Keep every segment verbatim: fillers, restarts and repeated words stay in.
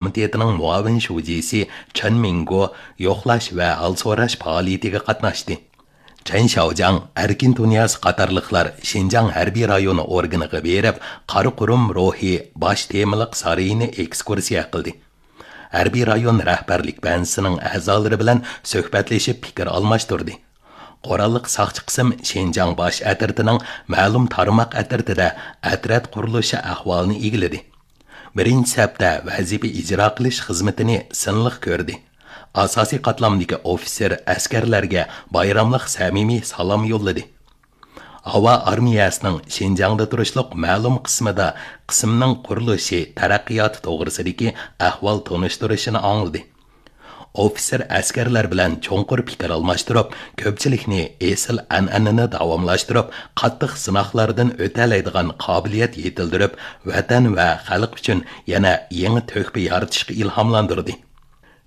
كومىتېتىنىڭ مۇئاۋىن شۇجىسى چېن مىڭگو يوقلاش ۋە ھال سوراش پائالىيىتىگە قاتناشتى. چېن شياۋجياڭ، ئەركىن تۇنىياز قاتارلىقلار شىنجاڭ ھەربىي رايونى ئورگىنىغا بېرىپ، قارا قۇرۇم روھى باش تېمىلىق سارىيىنى ئېكسكۇرسىيە قىلدى. ھەربىي رايون رەھبەرلىك بەنزىسىنىڭ ئەزالىرى بىلەن سۆھبەتلىشىپ پىكىر ئالماشتۇردى. قوراللىق ساقچى قىسىم شىنجاڭ باش ئەترىتىنىڭ مەلۇم تارماق ئەترىتىدە ئەترەت قۇرۇلۇشى ئەھۋالىنى ئىگىلىدى. بىرىنچى سەپتە ۋەزىپە ئىجرا قىلىش خىزمىتىنى سىنلىق كۆردى. ئاساسىي قاتلامدىكى ئوفىتسېر ئەسكەرلەرگە بايراملىق سەمىمىي سالام يوللىدى. ھاۋا ئارمىيەسىنىڭ شىنجاڭدا تۇرۇشلۇق مەلۇم قىسمىدا قىسىمنىڭ قۇرۇلۇشى، تەرەققىياتى توغرىسىدىكى ئەھۋال تونۇشتۇرۇشىنى ئاڭلىدى. ئوفىتسېر ئەسكەرلەر بىلەن چوڭقۇر پىكىر ئالماشتۇرۇپ، كۆپچىلىكنى ئېسىل ئەنئەنىنى داۋاملاشتۇرۇپ، قاتتىق سىناقلاردىن ئۆتەلەيدىغان قابىلىيەت يېتىلدۈرۈپ، ۋەتەن ۋە خەلق ئۈچۈن يەنە يېڭى تۆھپە يارىتىشقا ئىلھاملاندۇردى.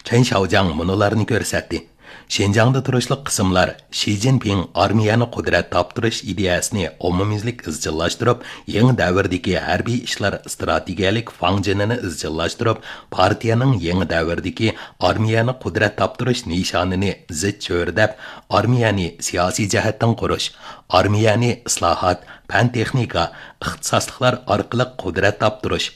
چېن شياۋجياڭ مۇنۇلارنى كۆرسەتتى. شىنجاڭدا تۇرۇشلۇق قىسىملار شى جىنپىڭ ئارمىيەنى قۇدرەت تاپتۇرۇش ئىدىيەسىنى ئومۇميۈزلۈك ئىزچىللاشتۇرۇپ، يېڭى دەۋردىكى ھەربىي ئىشلار ئىستراتېگىيەلىك فاڭجېنىنى ئىزچىللاشتۇرۇپ، پارتىيەنىڭ يېڭى دەۋردىكى ئارمىيەنى قۇدرەت تاپتۇرۇش نىشانىنى زىچ چۆرىدەپ، ئارمىيەنى سىياسىي جەھەتتىن قۇرۇش، ئارمىيەنى ئىسلاھات، پەن-تېخنىكا، ئىختىساسلىقلار ئارقىلىق قۇدرەت تاپتۇرۇش،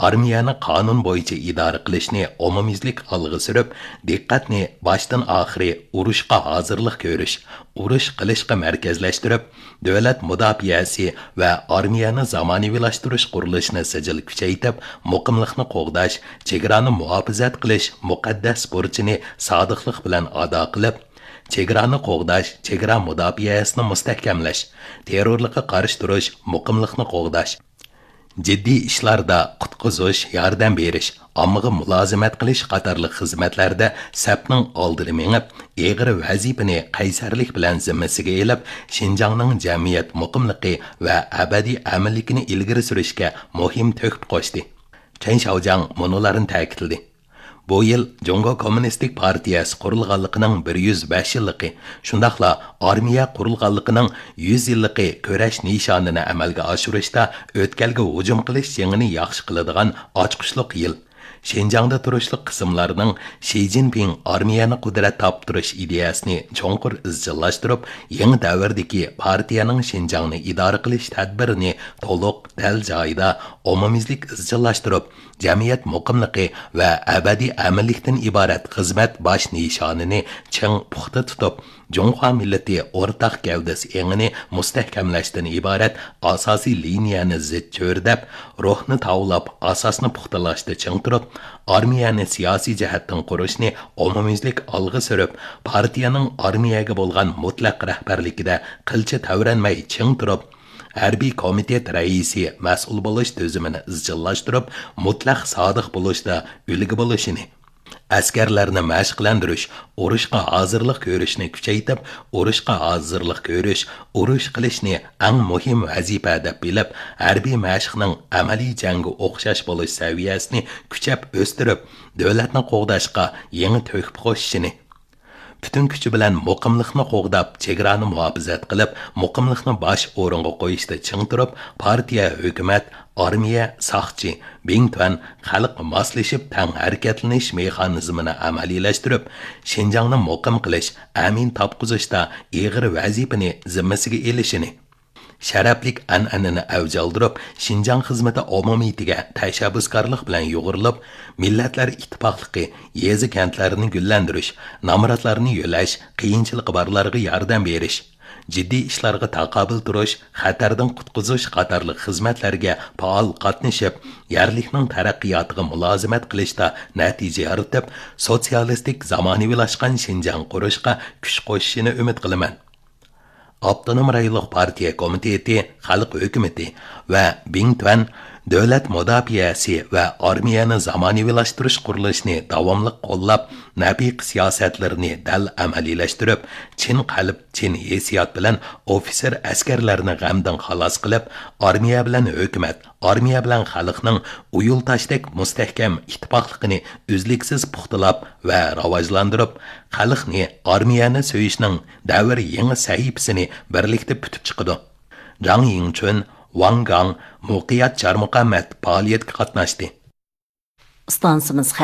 ئارمىيەنى قانۇن بويىچە ئىدارە قىلىشنى ئومۇميۈزلۈك ئالغا سۈرۈپ، دىققەتنى باشتىن ئاخىرى ئۇرۇشقا ھازىرلىق كۆرۈش، ئۇرۇش قىلىشقا مەركەزلەشتۈرۈپ، دۆلەت مۇداپىئەسى ۋە ئارمىيەنى زامانىۋىلاشتۇرۇش قۇرۇلۇشىنى سىجىل كۈچەيتىپ، مۇقىملىقنى قوغداش، چېگرانى مۇھاپىزەت قىلىش مۇقەددەس بۇرچىنى سادىقلىق بىلەن ئادا قىلىپ، چېگرانى قوغداش، چېگرا مۇداپىئەسىنى مۇستەھكەملەش، تېررورلۇققا قارشى تۇرۇش، مۇقىملىقنى قوغداش، جىددىي ئىشلاردا قۇتقۇزۇش، ياردەم بېرىش، ئاممىغا مۇلازىمەت قىلىش قاتارلىق خىزمەتلەردە سەپنىڭ ئالدىدا مېڭىپ، ئېغىر ۋەزىپىنى قەيسەرلىك بىلەن زىممىسىگە ئېلىپ، شىنجاڭنىڭ جەمئىيەت مۇقىملىقى ۋە ئەبەدىي ئەمىنلىكىنى ئىلگىرى سۈرۈشكە مۇھىم تۆھپە قوشتى. چېن شياۋجياڭ مۇنۇلارنى تەكىتلىدى. بۇ يىل جۇڭگو كوممۇنىستىك پارتىيەسى قۇرۇلغانلىقىنىڭ بىر يۈز بەش يىللىقى، شۇنداقلا ئارمىيە قۇرۇلغانلىقىنىڭ يۈز يىللىقى كۈرەش نىشانىنى ئەمەلگە ئاشۇرۇشتا ئۆتكەلگە ھۇجۇم قىلىش جېڭىنى ياخشى قىلىدىغان ئاچقۇچلۇق يىل. شىنجاڭدا تۇرۇشلۇق قىسىملارنىڭ شى جىنپىڭ ئارمىيەنى قۇدرەت تاپتۇرۇش ئىدىيەسىنى چوڭقۇر ئىزچىللاشتۇرۇپ، يېڭى دەۋردىكى پارتىيەنىڭ شىنجاڭنى ئىدارە قىلىش تەدبىرىنى تولۇق، دەل جايىدا، ئومۇميۈزلۈك ئىزچىللاشتۇرۇپ، جەمئىيەت مۇقىملىقى ۋە ئەبەدىي ئەمىنلىكتىن ئىبارەت خىزمەت باش نىشانىنى چىڭ پۇختا تۇتۇپ، جۇڭخۇا مىللىتى ئورتاق گەۋدىسى ئېڭىنى مۇستەھكەملەشتىن ئىبارەت ئاساسىي لىنىيەنى زىچ چۆرىدەپ، روھنى تاۋلاپ، ئاساسنى پۇختىلاشتا چىڭ تۇرۇپ، ئارمىيەنى سىياسىي جەھەتتىن قۇرۇشنى ئومۇميۈزلۈك ئالغا سۈرۈپ، پارتىيەنىڭ ئارمىيەگە بولغان مۇتلەق رەھبەرلىكىدە قىلچە تەۋرەنمەي چىڭ تۇرۇپ، ھەربىي كومىتېت رەئىسى مەسئۇل بولۇش تۈزۈمىنى ئىزچىللاشتۇرۇپ، مۇتلەق سادىق بولۇشتا ئۈلگە بولۇشىنى، ئەسكەرلەرنى مەشىقلەندۈرۈش، ئۇرۇشقا ھازىرلىق كۆرۈشنى كۈچەيتىپ، ئۇرۇشقا ھازىرلىق كۆرۈش، ئۇرۇش قىلىشنى ئەڭ مۇھىم ۋەزىپە دەپ بىلىپ، ھەربىي مەشىقنىڭ ئەمەلىي جەڭگە ئوخشاش بولۇش سەۋىيەسىنى كۈچەپ ئۆستۈرۈپ، دۆلەتنى قوغداشقا يېڭى تۆھپە قوشۇشىنى، پۈتۈن كۈچى بىلەن مۇقىملىقنى قوغداپ، چېگرانى مۇھاپىزەت قىلىپ، مۇقىملىقنى باش ئورۇنغا قويۇشتا چىڭ تۇرۇپ، پارتىيە، ھۆكۈمەت، ئارمىيە، ساقچى، بىڭتۈەن، خەلق ماسلىشىپ تەڭ ھەرىكەتلىنىش مېخانىزمىنى ئەمەلىيلەشتۈرۈپ، شىنجاڭنى مۇقىم قىلىش، ئەمىن تاپقۇزۇشتا ئېغىر ۋەزىپىنى زىممىسىگە ئېلىشىنى، شەرەپلىك ئەنئەنىنى ئەۋج ئالدۇرۇپ، شىنجاڭ خىزمىتى ئومۇمىيىتىگە تەشەببۇسكارلىق بىلەن يۇغۇرۇلۇپ، مىللەتلەر ئىتتىپاقلىقى، يېزا-كەنتلەرنى گۈللەندۈرۈش، نامراتلارنى يۆلەش، قىيىنچىلىقى بارلارغا ياردەم بېرىش، جىددىي ئىشلارغا تاقابىل تۇرۇش، خەتەردىن قۇتقۇزۇش قاتارلىق خىزمەتلەرگە پائال قاتنىشىپ، يەرلىكنىڭ تەرەققىياتىغا مۇلازىمەت قىلىشتا نەتىجە يارىتىپ، سوتسىيالىستىك زامانىۋىلاشقان شىنجاڭ قۇرۇشقا كۈچ قوشۇشىنى ئۈمىد قىلىمەن. ئاپتونوم رايونلۇق پارتىيە كومىتېتى، خەلق ھۆكۈمىتى ۋە بىڭتۈەن دۆلەت مۇداپىئەسى ۋە ئارمىيەنى زامانىۋىلاشتۇرۇش قۇرۇلۇشىنى داۋاملىق قوللاپ، نەپىق سىياسەتلىرىنى دەل ئەمەلىيلەشتۈرۈپ، چىن قەلب، چىن ھېسسىيات بىلەن ئوفىتسېر ئەسكەرلەرنى غەمدىن خالاس قىلىپ، ئارمىيە بىلەن ھۆكۈمەت، ئارمىيە بىلەن خەلقنىڭ ئۇيۇلتاشتەك مۇستەھكەم ئىتتىپاقلىقىنى ئۈزلۈكسىز پۇختىلاپ ۋە راۋاجلاندۇرۇپ، خەلقنى ئارمىيەنى سۆيۈشنىڭ دەۋر يېڭى سەھىپىسىنى بىرلىكتە پۈتۈپ چىقىدۇ. جاڭ يىڭچۈن، ۋاڭ گاڭ، مۇقىيەت چارمۇقەمەت پائالىيەتكە قاتناشتى. ئىستانسىمىز خەۋەر.